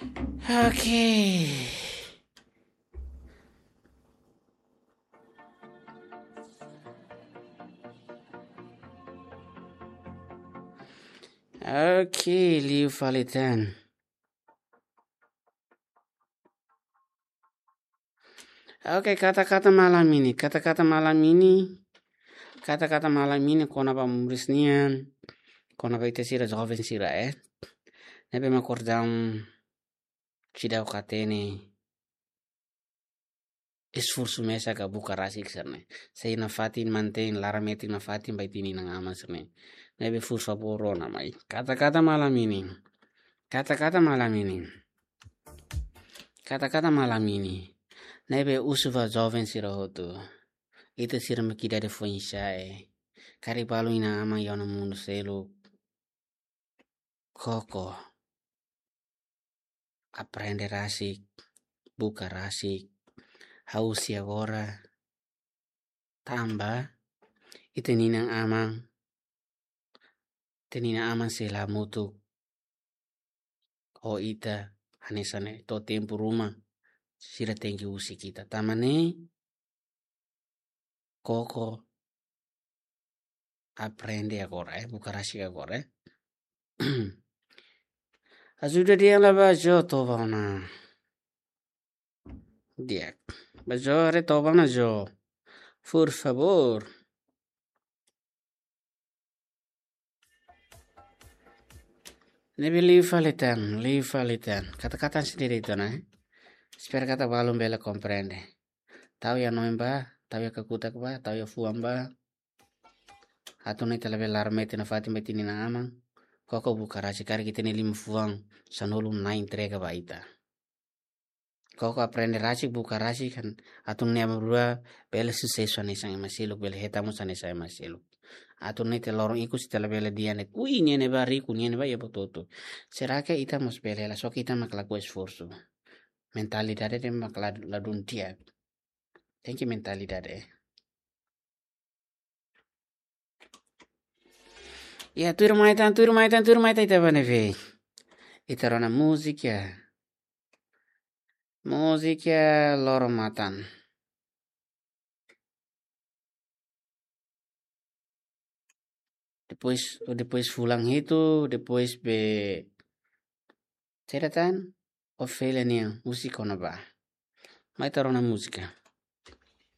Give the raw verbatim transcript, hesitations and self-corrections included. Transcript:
Oke. Oke, liu fali tan. Oke, kata-kata malam ini, kata-kata malam ini, kata-kata malam ini kona-ba moris nian, kona-ba ita sira joven sira, eh. Ne'ebé mak kordam seidauk hatene esforsu mesak ka buka rasik sira-ne'e. Sei nafatin mantein laran metin nafatin ba ita-nia inan-aman sira-ne'e. Ne'ebé por favór rona mai. Kata-kata malam ini. Kata-kata malam ini. Kata-kata malam ini. Ne'ebé husu ba joven sira hotu. Ita sira mak ida-idak foin-sa'e. Karik balu inan-aman iha ona mundu seluk. Koko. Aprende rasik, buka rasik, ha'u husi agora, tanba ita-nia inan-aman, ita-nia inan-aman sei la hamutuk ho ita hanesan ne'e to'o tempu ruma, sira tenke husik ita. Tanba ne'e, koko aprende agora, eh, buka rasik agora, eh. Ajuda dehan la ba Jo toba ona. Di'ak. Ba Jo, haree toba ona Jo. Por favór. Ne'ebé liu fali tan, liu fali tan. Kata-kata sendiri itu, nah. Espera katak balun bele komprende. Tau iha hanoin ba, tau iha kakutak ba, tau iha fuan ba. Atu nune'e ita labele laran metin nafatin ba ita-nia inan-aman. Koko buka rasik, karik ita-nia lima fuan sanulu na'in entrega ba ita. Koko aprende rasik, buka rasik, kan atu nune'e aban-bainrua bele susesu hanesan ema seluk, bele hetan mós hanesan ema seluk. Atu nune'e ita loron ikus ita labele dehan de'it, "Ui, nia ne'ebá riku, nia ne'ebá iha buat hotu." Será que ita mós bele hela, só que ita mak lakohi esforsu. Mentalidade ida mak la, ladún di'ak. Tenke mentalidade, eh. Ya, tuirmai tan, tuirmai tan, tuirmai tan, ita bá ne'ebé? Ita rona múzika. Múzika Loro Matan. Depois, depois fulan hitu, depois be, saida tan, Ofélia nian, múzika ona ba. Mai ita rona múzika.